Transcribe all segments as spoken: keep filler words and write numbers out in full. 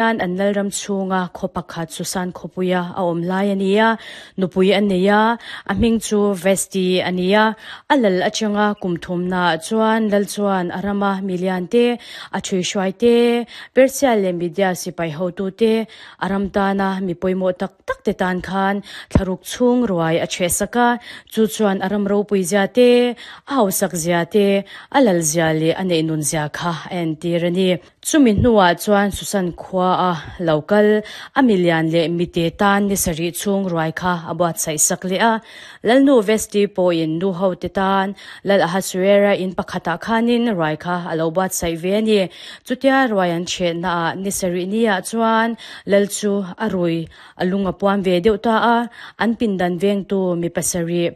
An lalram chhunga khaw pakhat Susan khawpuia a awm lai a ni a, nupui a nei a, a hming chu Vesti a ni a. A lal atanga kum thumnaah chuan lal chuan a rama milian te, a thuihhruai te, Persia leh Media sipai hotute, a ram tana mi pawimawh tak tak te tan khan thlaruk chhung ruai a chhehsak a, chu chuan a ram ropui zia te, a hausak zia te, a lal zia leh a neih nun zia kha a entir a ni. Chumi hnuah chuan Susan khua a lo kal, a milian leh mite tan ni sarih chhung ruai kha a buatsaih sak leh a. Lalnu Vesti pawhin nu ho te tan Lal Ahasuera in pakhatah khanin ruai kha a lo buatsaih ve a ni. Chutia ruai an chhehnaah ni sarih niah chuan Lal chu a rui a lung a puam ve deuh ta a, an pindan vengtu mi pasarih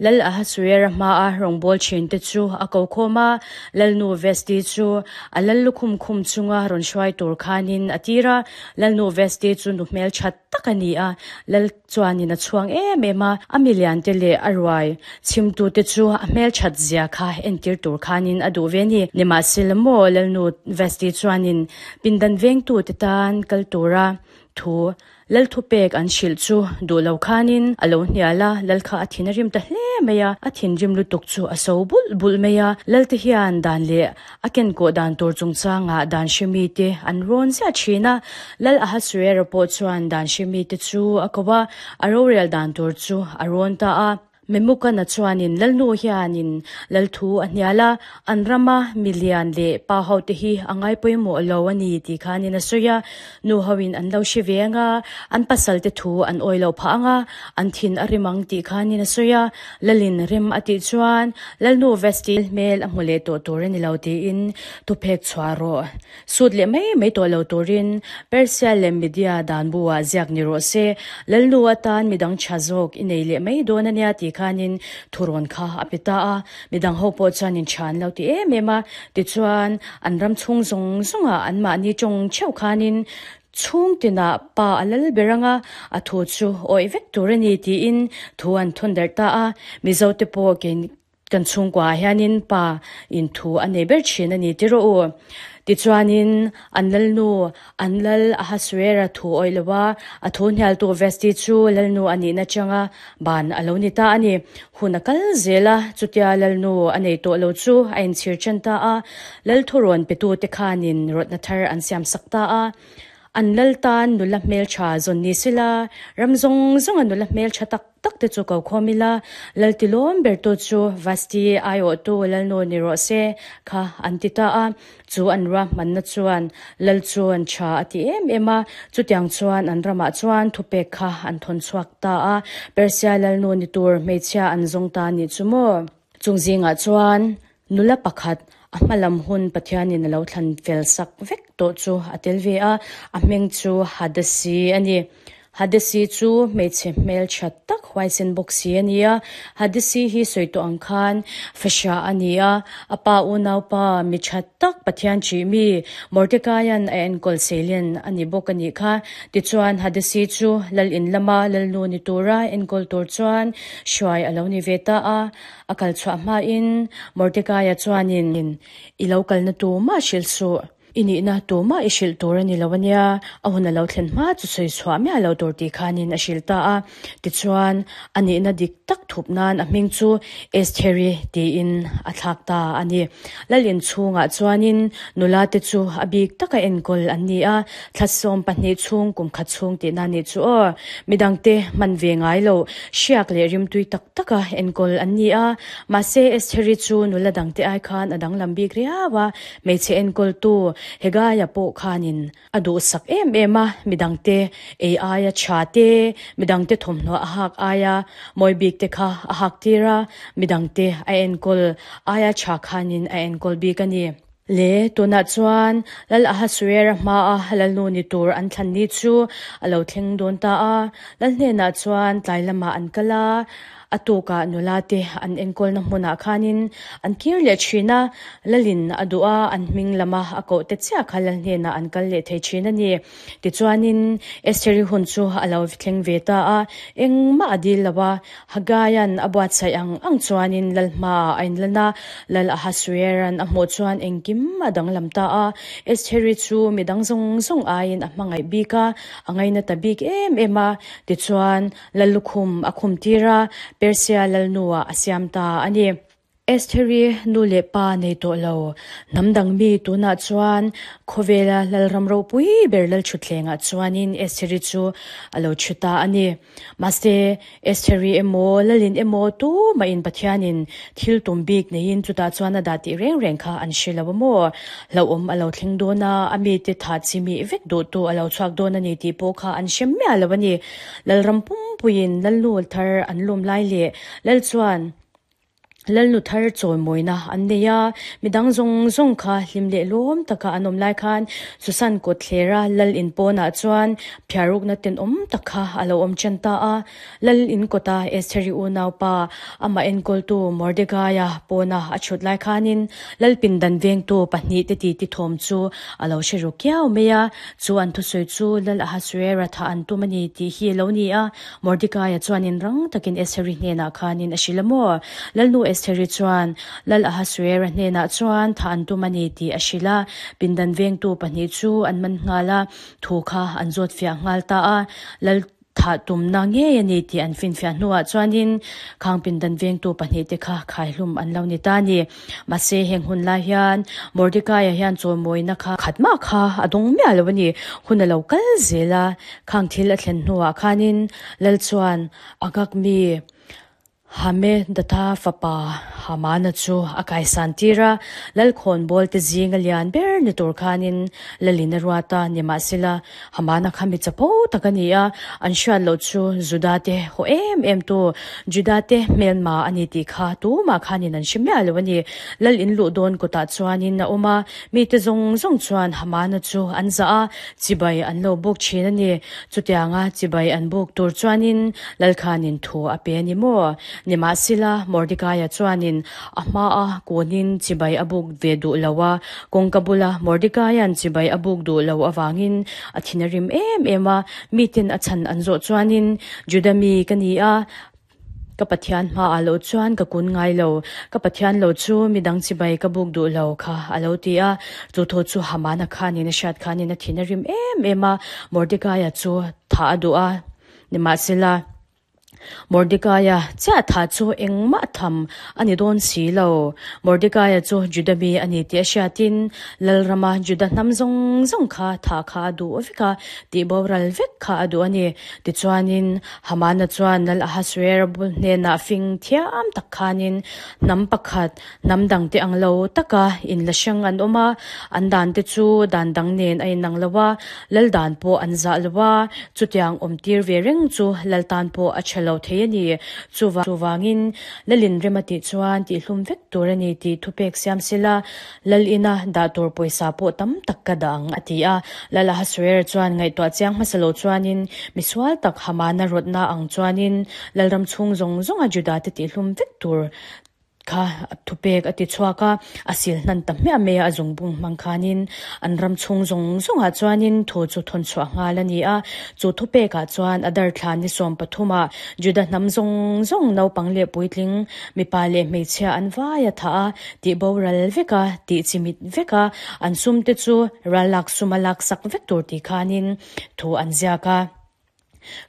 Lal Ahasuera hmaa rawngbâwl ṭhinte chu a ko khawm a, Lalnu Vesti chu a lal lukhum khum chunga rawn hruai tur khanin a tir a. Lalnu Vesti chu nu hmelṭha tak a ni a, Lal chuanin a chhuang em em a, a miliante leh a ruai chhimtute chu a hmelṭhat zia kha entir tur khanin a duh ve a ni. Nimahsela maw Lalnu Vesti chuanin pindan vengtute tan kal tura thu Lal thupek an hrilh chu duh lo khanin a lo hnial a, Lal kha a thin a rim ta hle mai a, a thinrim lutuk chu a so bulh bulh mai a. Lal te hian dan leh a kenkawh dan tur chungchangah dan hre mite an rawn ziah thin a. Lal Ahasuera pawh chuan dan hre mite chu a ko a, a rorel dan tur chu a rawn ta a. Memukana chuanin Lalnu hianin Lalthu a hnial a, an rama milian leh pa hote hi a ngai pawimawh lo a ni tih khanin a sawi a. Nu hoin an lo hre ve ang a, an pasalte thu an awi loh phah ang a, an thin a rim ang tih khanin a sawi a. Lalin rem a tih chuan Lalnu Vesti hmel a hmu leh tawh tur a ni lo tiin thuphek chhuah rawh. Sut leh mai mai tawh lo turin Persia leh Media dan buah ziak ni rawh se, Lalnu atan midang tha zawk i nei leh mai dawn a nia tih khanin thurawn kha a pe ta a. Midang ho pawh chuan in tha an lo ti em em a, tichuan an ram chhung zawng zawngah anmahni tawng theuh khanin chhung tinah pa a lal ber anga a thu chu awih vek tur a ni tiin thu an thawn darh ta a. Mizote pawh kei Kan chhungkuaah hianin pa in thu a nei ber thin a ni ti rawh u. Tichuanin an lalnu, an lal Ahasuera thu awih lo a, a thu hnialtu Vesti chu lalnu a nihna changa ban a lo ni ta a ni. Hun a kal zel a, chutia lalnu a nei tawh lo chu a inchhir ṭan ta a, lal thurawn petute khanin rawtna thar an siamsak ta a. An lal tan nula hmeltha zawn ni sela, ram zawng zawnga nula hmeltha tak tak te chu ko khawm ila, lal tilawm bertu chu Vasti aiawhtu lalnu ni rawh se kha an ti ta a. Chu an ruahmanna chuan lal chuan tha a ti em em a, chutiang chuan an ramah chuan thupek kha an thawn chhuak ta a, Persia lalnu ni tur hmeichhia an zawng ta nih chu maw? Chung zingah chuan nula pakhat a hma lam hun Pathianin a lo thlan fel sak vek tawh chu a tel ve a, a hming chu Hadasi a ni. Hadasi chu hmeichhe hmeltha tak huaisen bawk si a ni a. Hadasi hi sawi tawh ang khan fahrah a ni a, a pa unaupa mi tha tak Pathian ṭih mi Mordecaia'n a enkawl seilian a ni bawk a nih kha. Tichuan Hadasi chu lal in lama lalnu ni tura enkawl tur chuan hruai a lo ni ve ta a. A kal chhuah hmain Mordekaia chuanin, I lo kalna tumah hrilh suh, i nihna tumah i hrilh tur a ni lo a nia, a hun a lo thlen hma chu sawi chhuah miah lo tur tih khanin a hrilh ta a. Tichuan, a nihna dik tak thup nan a hming chu Estheri tiin a thlak ta a ni. Lal inchhungah chuanin nula te chu a bik taka enkawl an ni a, thla sawm pahnih chhung kum khat chhung tihna nih chu aw. Midangte hman ve ngai lo, hriak leh rimtui tak taka enkawl an ni a, mahse Estheri chu nula dangte ai khan a danglam bik riau a, hmeichhe enkawltu Hegaia pawh khanin a duhsak em em a, midangte ei aia tha te, midangte thawmhnaw a hak aia mawi bik te kha a hak tir a, midangte a enkawl aia tha khanin a enkawl bik a ni. Le, tunah chuan Lal Ahasuera hmaa Lalnu ni tur an thlan ni chu a lo thleng dawn ta a. Lal hnenah chuan tlai lamah an kal a, A tukah nula te an enkawlna hmunah khanin an kir leh thin a, Lalin a duh a, an hming lama a koh te chiah kha Lal hnenah an kal leh thei thin a ni. Tichuanin Estheri hun chu a lo thleng ve ta a, engmah a dil lo a, Hagaia'n a buatsaih ang ang chuanin Lal hmaah a inlan a, Lal Ahasuera'n a hmuh chuan engkim a danglam ta a, Estheri chu midang zawng zawng aiin a hmangaih bik a, a ngaina ta bik em em a, tichuan Lal lukhum a khum tir a, Persia Lalnuah a siam ta a ni. Estheri nu leh pa nei tawh lo, hnam dang mi tunah chuan khawvela Lalram ropui ber Lalthutthlengah chuanin Estheri chu a lo thu ta a ni. Mahse, Estheri emaw, Lalin emaw tumahin Pathianin thil tum bik neiin chutah chuan a dah tih reng reng kha an hre lo a maw? Hlauhawm a lo thleng dawn a, a mite thah chimih vek duhtu a lo chhuak dawn a ni tih pawh kha an hre miah lo a ni. Lalram pumpuiin Lalnu thar an lawm lai leh Lal chuan Lalnu thar chawimawina an nei a, midang zawng zawng kha hlim leh lawm taka an awm lai khan Susan kawtthlera Lal in pawnah chuan phiarukna tenawm tak kha a lo awm ṭan ta a. Lal in kawta Estheri unaupa amah enkawltu Mordekaia pawna a chhut lai khanin Lal pindan vengtu pahnih te titi thawm chu a lo hre ru kiau mai a, chu an thusawi chu Lal Ahasuera thah an tum a ni tih hi a lo ni a. Mordekaia chuanin rang takin Estheri hnenah khanin a hrilh a maw? Lalnu Estheri chuan Lal Ahasuera hnenah chuan thah an tum a ni tih a hrilh a, pindan vengtu pahnih chu an man nghal a, thu kha an zawt fiah nghal ta a. Lal thah tumna ngei a ni tih an finfiah hnuah chuanin khang pindan vengtu pahnih te kha khaihlum an lo ni ta a ni. Mahse heng hun lai hian Mordekaia hian chawimawina kha khat mah kha a dawng miah lo a ni. Hun a lo kal zel a, khang thil a thlen hnuah khanin Lal chuan a ngak mi Hamedatha fapa Hamana chu a kaisan tir a, Lalkhawnbawl te zinga lian ber ni tur khanin Lalin a ruat a, nimahsela Hamana kha mi chapo tak a ni a, an hriat loh chu Juda te haw em em tu, Juda te hmelma a ni tih kha tumah khanin an hre miah lo a ni. Lal in luh dawn kutah chuanin a awm a, mite zawng zawng chuan Hamana chu an zah a, chibai an lo buk thin a ni. Chutianga chibai an buk tur chuanin Lal khanin thu a pe a ni maw? Nimahsela, Mordekaia chuanin a hmaa kunin chibai a buk ve duh lo a, kawngka bula Mordekaia'n chibai a buk duh lo avangin a thin a rim em em a. Miten a chhan an zawh chuanin, Juda mi ka ni a, ka Pathian hmaah loh chuan ka kun ngai lo, ka Pathian lo chu midang chibai ka buk duh lo kha a lo ti a. Chu thu chu Hamana khanin a hriat khanin a thin a rim em em a, Mordekaia chu thah a duh a. Nimahsela, Mordekaia chiah thah chu engmah tham a ni dawn si lo. Mordekaia chu Juda mi a ni tih a hriatin Lalrama Juda hnam zawng zawng kha thah kha a duh vek a, tih boral vek kha a duh a ni. Tichuanin Hamana chuan Lal Ahasuera bul hnenah fing thiam tak khanin hnam pakhat hnam dangte ang lo taka inla hrang an awm a, an dante chu dan dang nen a inang lo a, Lal dan pawh an zah lo a, chutiang awm tir ve reng chu Lal tan pawh a tha lo thei a ni. Chuvangin Lalin rem a tih chuan tihhlum vek tur a ni tih thupek siam sela, Lal ina dah tur pawisa pawh tam tak ka dah ang a ti a. Lal Ahasuera chuan ngaihtuah chiang hmasa lo chuanin misual tak Hamana rawtna ang chuanin Lalram chhung zawng zawnga Judate tihhlum vek tur kha thupek a ti chhuak a, a sil hnan ta hmiah mai a, a zungbung hmang khanin an ram chhung zawng zawngah chuanin thu chu thawn chhuah nghal a ni a. Chu thupekah chuan a darthla ni sawm pathumah Juda hnam zawng zawng naupang leh puitling, mipa leh hmeichhia an vai a thah a, tih boral vek a, tih chimit vek a, an sumte chu ral lak suma laksak vek tur tih khanin thu an ziak a.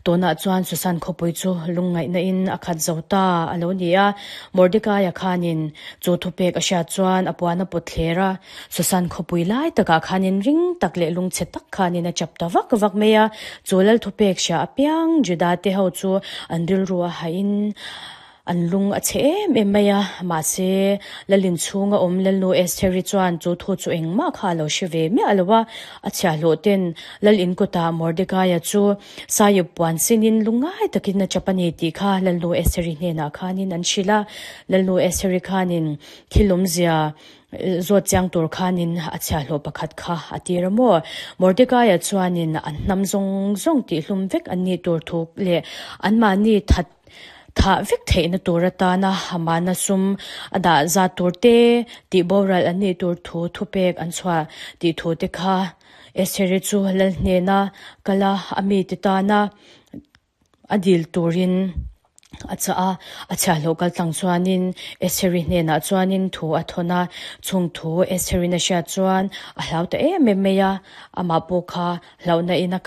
Tunah chuan Susan khawpui chu lungngaihna in a khat zo ta a lo ni a, Mordekaia khanin chu thupek a hriat chuan a puan a pawt thler a, Susan khawpui lai takah khanin ring tak leh lungchhe tak khanin a chap ta vak vak mai a, chu lal thupek hria apiang Juda te ho chu an rilru a hahin An lung a chhe em em mai a, mahse Lalin chhunga awm Lalnu Estheri chuan chu thu chu engmah kha a lo hre ve miah lo a, a chhiahhlawh ten Lal in kutah Mordekaia chu Saiip puan sinin lungngai takin a chap a ni tih kha Lalnu Estheri hnenah khanin an hrilh a, Lalnu Estheri khanin thil awmzia zawt chiang tur khanin a chhiahhlawh pakhat kha a tir a maw? Mordekaia chuanin an hnam zawng zawng tihhlum vek an nih tur thu leh anmahni that Thah vek theihna tur atana Hamana sum a dah zat tur te, tihboral an nih tur thu thupek an chhuah tih thu te kha Estheri chu lal hnena kal a, a mite tana a dil turin a chah a. A chhiahhlawh kal tlang chuanin Estheri hnenah chuanin thu a thawn a, chung thu Estheri'n a hriat chuan a hlau ta em em mai a, amah pawh kha hlauhna in a.